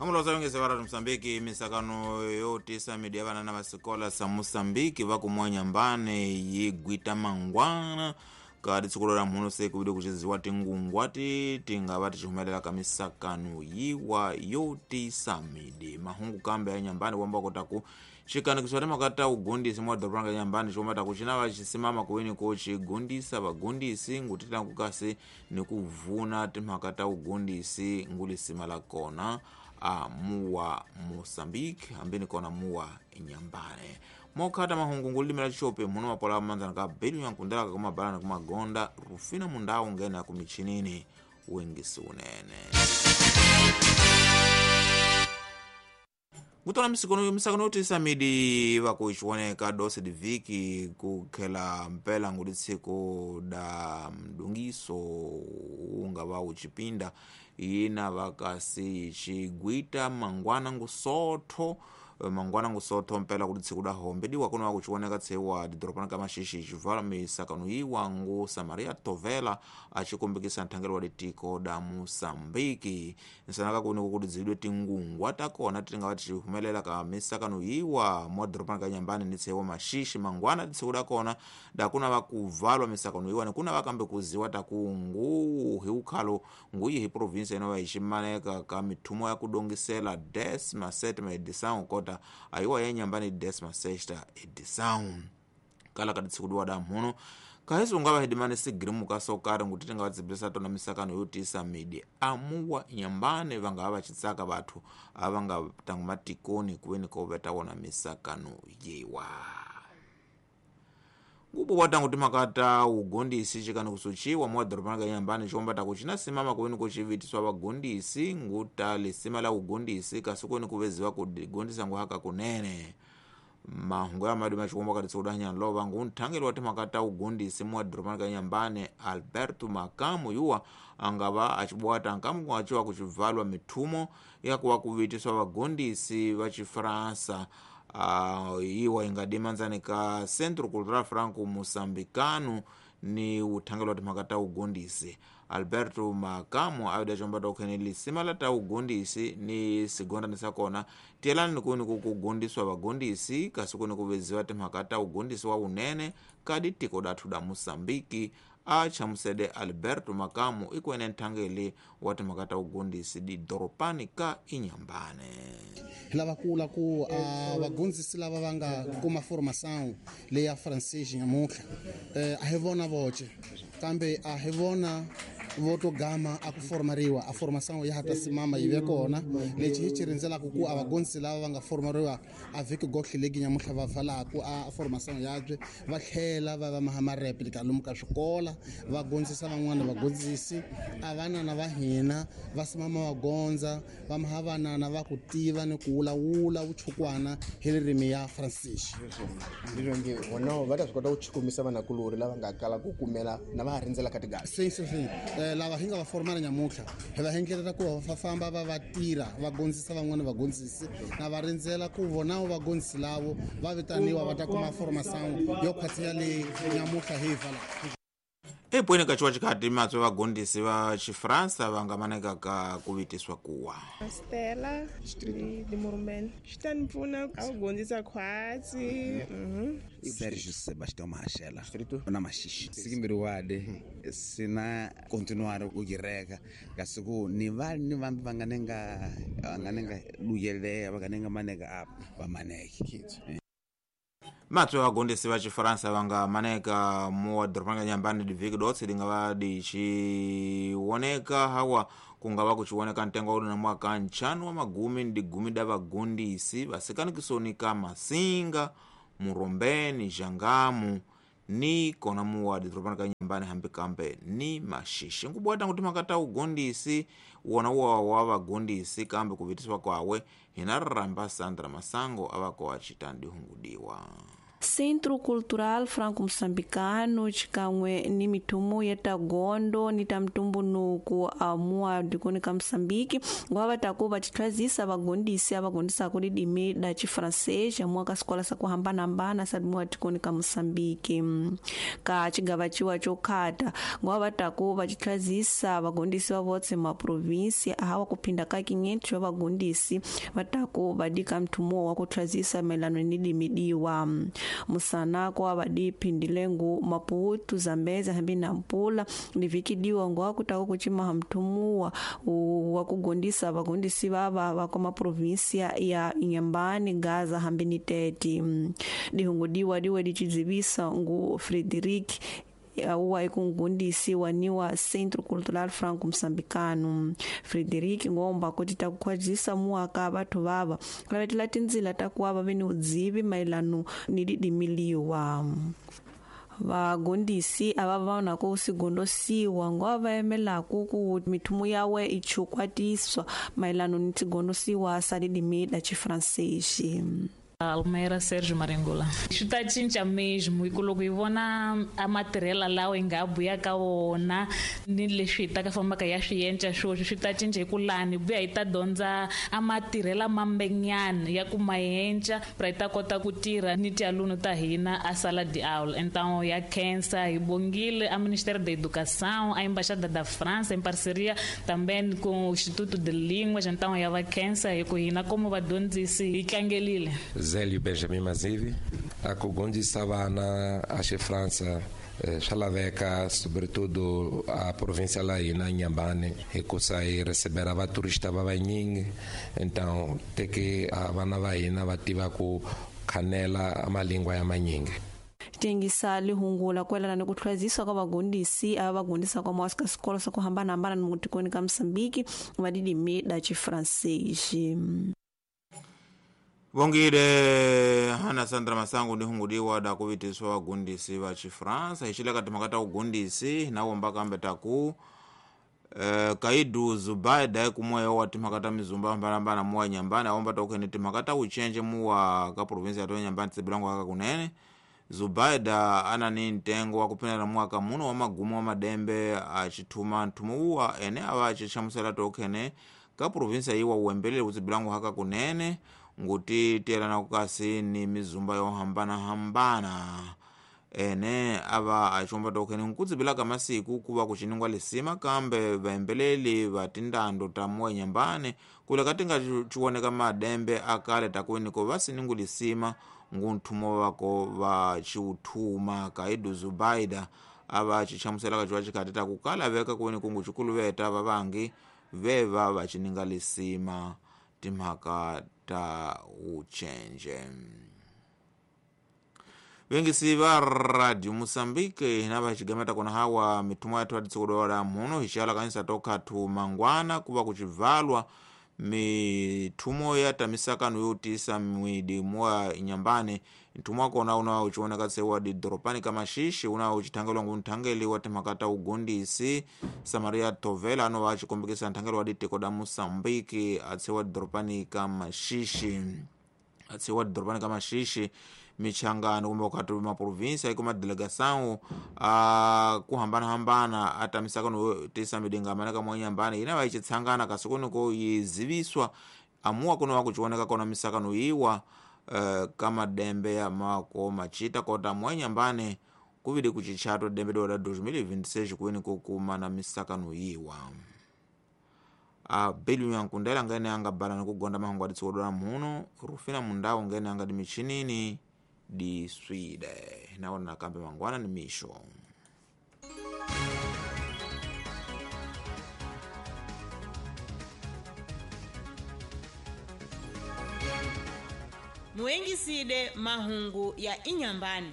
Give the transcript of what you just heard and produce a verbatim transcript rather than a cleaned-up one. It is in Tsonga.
Kamuloza yongeza vara Mosambiki misakano yotisa midi ya vana na vasikola sa Mosambiki vakumwa Nyambane yigwita mangwana kadi tsikulo la mhuno se kuvide kuchiziwa tingungwati tingava tichihumelela ka misakano yiwa yotisa midi mahungu kambe ya Nyambane kuamba kotaku xikanikiswa timhaka ugundisi mwa doroba ra Nyambane xi ta ku xi na va xisimama kuweni ko xigundisa vagundisi ngutitlangu kasi ni ku vuna timhaka ta ugundisi ngulisima la kona a muwa Mosambiki hambi ni kona muwa Nyambane mokhata mahungu ngulimela xope muno mapola manzana ka belu yankundelaka kumabalana kumagonda Rufina Mundau ngena kumichinini wengisi unene kutola misikono misakano yotisa midi vakuichiwoneka dose diviki kukhela mpela nguli tsiku da mdungiso unga va uchipinda yina vakasi chigwita mangwana ngusotho mangwana ngusotho mpela kuti tsiku da hombe diwa kuno vakuchiwoneka tsewa didoropana ka Maxixi chivala misakano yiwa ngu Samaria Tovela achikumbikisa nthangelo wa litiko da Mosambiki nsanaka kuni kuti dzidwe tingungwa takona tinga tichihumelela ka misakano yiwa mwa doropana ka Nyambane ni tsewa Maxixi mangwana tsiku da kona dakuna vakuvalwa misakano yiwa nikuna vakambe kuziwa takungu hi ukhalo nguyi hi provinsia inova ichimaneka ka mithumo ya kudongisela décima sétima edição kota ayiwa ya Nyambane décima sexta edição kala kati tsiku diwa da mhuno kahesi ungava hidimane sigirimu kasokari nguti tinga vadzibisa tona misakano yotisa midi amuwa Nyambane vangava vachitsaka vathu avanga tangu matikoni kuweni koveta wona misakano yewa ngubo watangu timakata ugondisi chikani kusuchiwa mwa doroba ka Nyambane chikomba takuchina simama kuweni kuchivitiswa vagondisi nguta lisima la ugondisi kasi kweni kuveziwa kudigondisa nguhaka kunene mahungu ya madi machikomba kati tsikuda lova ngu nthangeli wa timhaka ugondisi mwa doroba ka Nyambane Alberto Makamu yuwa angava achibwata nkamu kuachiwa kuchivalwa mithumo yakuwa kuvitiswa vagondisi va Chifransa Uh, iwa ingadimanzani ka Centro Cultural Franco Moçambicano ni uthangelo wa timhaka ta ugondisi Alberto Makamu awida chomba ta ukhene lisima la ta ugondisi ni sigondani sakona tiyelani kuni kukugondiswa vagondisi kasi kuni kuveziwa timhaka ta ugondisi wa unene kadi tiko dathu da Mosambiki achamusede Alberto Makamu ikwene nthangeli wa timhaka ta ugondisi didoropani ka Inyambane lava kula ku a vagondzisi lava va nga kuma formação leya francês nyamutlha eh a hi vona voce kambe a hi vona voto gama a ku formariwa a formação ya hata simama yi ve kona lexi hi xi rindzelaka ku a vagondzisi lava va nga formariwa a vhiki gohle legi nyamutlha va valaku a formação yabye va tlhela va va maha replica lomu ka swikola va gondzisa van'wana vagondzisi a vanana va hina va simama va gondza va maha vanana va ku tiva ni ku wulawula vuchukwana hi ririmi ya francês ndizvo nge vona va ta swi kota ku chukumisa vanakulori lava nga kala ku kumela na va ha rindzela ka tigasi sim sim sim eh, lava hi nga va formala nyamutlha hi va endlela ku va famba va va tirha va gondzisa van'wana vagondzisi na va rindzela ku vona vagondzisi lavo va vitaniwa va ta kuma formação yo khwatsiya leyi nyamutlha hi yi valaka epweni kachiwa chikhati matswe vagondisi va Xifransa va nga maneka ka kuvitiswa kuwa Stella di Morumeni xi ta ni pfuna a ku gondzisa khwatsi mhm Sergio Sebastião Mahashela na Maxixi sikimbiriwade sina continuar u gireka kasi ku ni va ni vambi va nga nenga va nga nenga luyeleya va nga nenga maneka apa va maneke matswe vagondisi va Xifaransa va nga maneka muwa doroba ka Nyambane divhiki dotse linga va dichiwoneka hawa kungava kuchiwoneka ntengo wa na mwaka nchanu wa magumi ndi gumi da vagondisi vasikanikisoni ka Masinga Murombeni Jangamu ni kona muwa doroba ka Nyambane hambi kambe ni Maxixi nkubwata kuti makata ugondisi wona uwa wa vagondisi kambe kuvitiswa kwawe hina ramba Sandra Masango avako achita ndihungudiwa. Centro Cultural Franco-Moçambicano xikan'we ni mithumo ya ta gondo ni ta mtumbuluko amuwa dikoni ka Moçambique ngwa va ta ku va titlhazisa vagondisi ava gondisaka ririmi la xifrancês amuwa ka swikolo swa ku hambanahambana sa muwa tikoni ka Moçambique. Ka xigava ciwa xo khata ngwa va ta ku va titlhazisa vagondisi va votse maprovinsi ahawa ku phinda ka quinhentos va vagondisi va ta ku va dika mthumo wa ku tlhazisa mayelana ni limi diwa. Musana kwa va diphindile Maputo, Zambezi hambi na Nampula ni vhiki diwa ngwa ku ta ku cimaha mthumuwa wa ku gondisa vagondisi vava va ka maprovinsia ya Inhambane, Gaza hambi ni Tete. Dihungu diwa diwe dichizivisa ngu Frederic auwa ekungundisi waniwa Centro Cultural Franco-Moçambicano. Frederic ngomba kuti takukhwazisa muaka batho vava lavetela tindzila ta kuva va ve ni udzivi mayelano ni didimiliwa. Vagondisi ava va na ku sigondosiwa ngwa va emelaku ku mithumo yawe i chukwatiswa mayelano ni tigondosiwa sa ririmi la xifrancês. Almeida Sérgio Maringula. Swi ta cinca mesmo hi ku loko hi vona a matirhela lawa hi nga buya ka wona ni leswi hi ta ka fambaka ya swi endla swoswi swi ta cinca hi ku lani buya hi ta dyondza a matirhela mambenyana ya ku maenca pra hi ta kota ku tirha ni tialunu ta hina a sala de aula. Então ya khensa hi bongile a Ministério da Educação, a Embaixada da França em parceria também com o Instituto de Línguas, então ya va khensa hi ku hina como vadyondzisi hi tlangelile. Zélio Benjamin Mazivi, a kugondisa vana a França swa laveka sobretudo a província lá na Inhambane hikusa hi recebera vaturista va vanyingi, então te que a vana va hina va tiva ku khanela malingwa ya manyingi. Tengisa lihungula kwelana ni ku tlhwazisa ka vagondisi ava vagondisa kwa mwasi ka swikolo swa ku hambanahambana ni mutikoni ka Moçambique va ririmi la xifrancês. Vongile Hana Sandra Masangu ndi hungudiwa da kuvitiswa vagundisi va xifransa hi xileka timhaka ta vugundisi na womba kambe taku eh, Kaidu Zubaida kumwe wa timhaka ta mizumba hambanahambana muwa Nyambani awomba takukhene timhaka ta vucenje muwa ka provinsi ya Nyambani tsibilango aka kunene. Zubaida ana ni ntengo wa kuphinela mwaka muno wa magumo wa madembe acithuma nthumo uwa ene ava acihlamusela tokhene ka provinsi yiwa uwembelele kutsibilango haka kunene nguti tiyelana kukasi ni mizumba yo hambanahambana ene ava acomba tokhene nkutsibilaka masiku kuva kuciningwa lisima kambe vaembeleli va tindando ta muwa Nyambane kuleka tinga ciwoneka madembe akale takuweniko va siningu lisima ngunthumo vako va ciuthuma. Kaidu Zubaida ava cihlamuselaka ciwa cikhati takukala veka kuweni kungu cikuluveta vavangi veva va cininga lisima timhaka ta uchenje. Vengisi va Radio Moçambique na va xigameta kona hawa mithumo ya twatitsikudola muno hi xiala kanisa tokhathu mangwana kuva kucivalwa mithumo ya tamisakano yo tisa mwidi mwa Inhambane. Nthumo wa kona una uchiwoneka tsewa didoropani ka Maxixe una uchithangelwa ngu nthangeli wa timhaka ta ugondisi Samaria Tovela ano va xikombekisa nthangelo wa ditiko da Moçambique atsewa didoropani ka Maxixe atsewa didoropani ka Maxixe michangano kumbe ukhati maprovinsia iko madelegação a kuhambanahambana atamisakano yo tisa midingamana ka mwa Inhambane ina va ichitsangana kasi kuniko yiziviswa amuwa kuno wakuchiwoneka kona misakano yiwa Uh, kama dembe ya mako machita kota mwa Inhambane kuvidi kuchichato dembe dola dois mil e vinte e seis kuweni kukuma na misakano yiwa. A belu yankundela ngene anga bala nikugonda mahungu aditsukodora muno Rufina Mundau ngene anga dimichinini di Swede naona nakambe mangwana ni misho. Muengiside mahungu ya Inhambane.